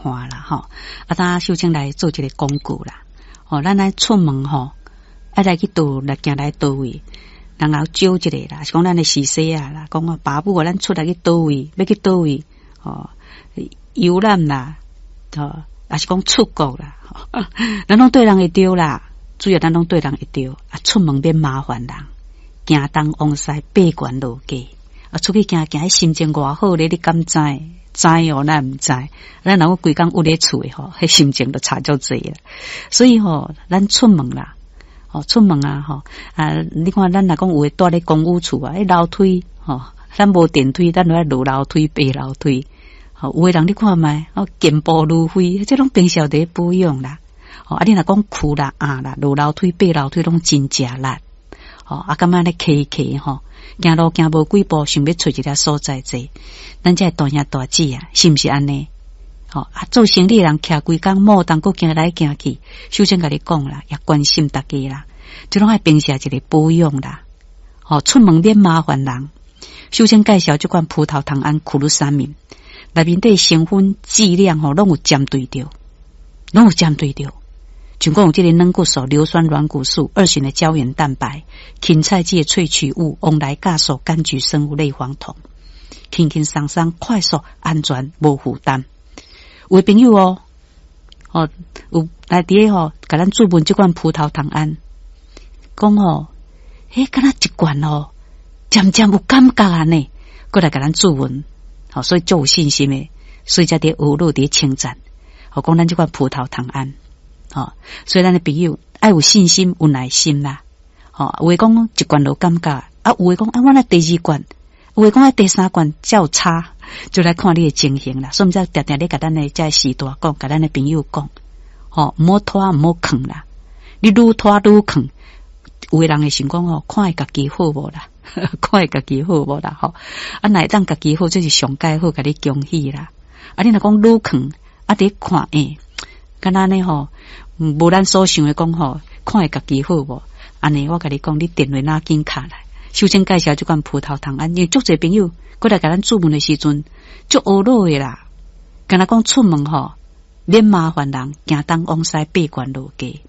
看啦吼。啊，當秀清來做一个廣告啦。吼，咱愛出門吼，愛來去佗來行來佗位，人後招一个啦，是講咱的時勢啊啦，講爸母啊，咱出來去佗位，欲去佗位，吼，遊覽啦，吼，抑是講出國啦，咱攏對人會著啦，主要咱攏對人會著啊，出門免麻煩人，行東往西爬懸落低，啊，出去行行，心情偌好咧，你敢知？知哦，咱毋知。咱若講規工焜咧厝的吼，彼心情就差足濟啦。所以吼，咱出門啦，吼，出門啊，吼啊！你看，咱若講有的蹛咧公寓厝啊，彼樓梯吼，咱無電梯，咱就愛落樓梯、爬樓梯。吼，有的人你看覓，哦，健步如飛，這攏平常佇咧保養啦。吼，啊，你若講跍啦、壓啦，落樓梯、爬樓梯攏真食力。吼，啊，感覺按呢騎騎吼，行路行無幾步，想欲揣一个所在坐。咱這大兄大姊啊，是毋是按呢？吼啊，做生理的人徛規工，摩當閣行來行去，秀清共你講啦，也關心大家啦，這攏愛平時一个保養啦。吼，出門免麻煩人。秀清介紹這款葡萄糖胺苦魯三明，內面底成分劑量吼，攏有針對著，攏有針對著。像講有這个軟骨素、硫酸軟骨素、二型的膠原蛋白、芹菜籽的萃取物、黃來酵素、柑橘生物類黃酮，輕輕鬆鬆、快速、安全、無負擔。有的朋友哦，哦，有來佇咧吼，共咱注問這款葡萄糖胺，講吼，欸，敢若一罐哦，漸漸有感覺按呢，閣來共咱注問，吼，所以足有信心的，所以才佇學樂佇稱讚，吼，講咱這款葡萄糖胺。吼，所以咱的朋友愛有信心、有耐心啦。吼，有的講一罐就感覺，啊，有的講啊，我愛第二罐，有的講愛第三罐才有差，就來看你的情形啦。所以，才定定咧共咱的這序大講，共咱的朋友講，吼，毋好拖，毋好囥啦。你愈拖愈囥，有的人會想講吼，看會家己好無啦？看會家己好無啦？吼，啊，若會當家己好，這是上蓋好，共你恭喜啦。啊，你若講愈囥，啊，佇看欸，敢若按呢吼，無咱所想的講吼，看會家己好無？按呢，我共你講，你電話拿緊敲來，首先介紹這款葡萄糖胺，因為足濟朋友過來共咱注問的時陣，足懊惱的啦。敢若講出門吼，免麻煩人，行東往西爬懸落低。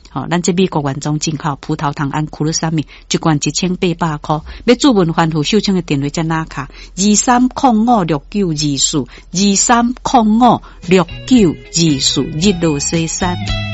吼，咱這美國原裝進口葡萄糖胺苦魯三明，一罐1800箍。欲注問番號，秀清的電話才拿卡23056924，23056924，日落西山。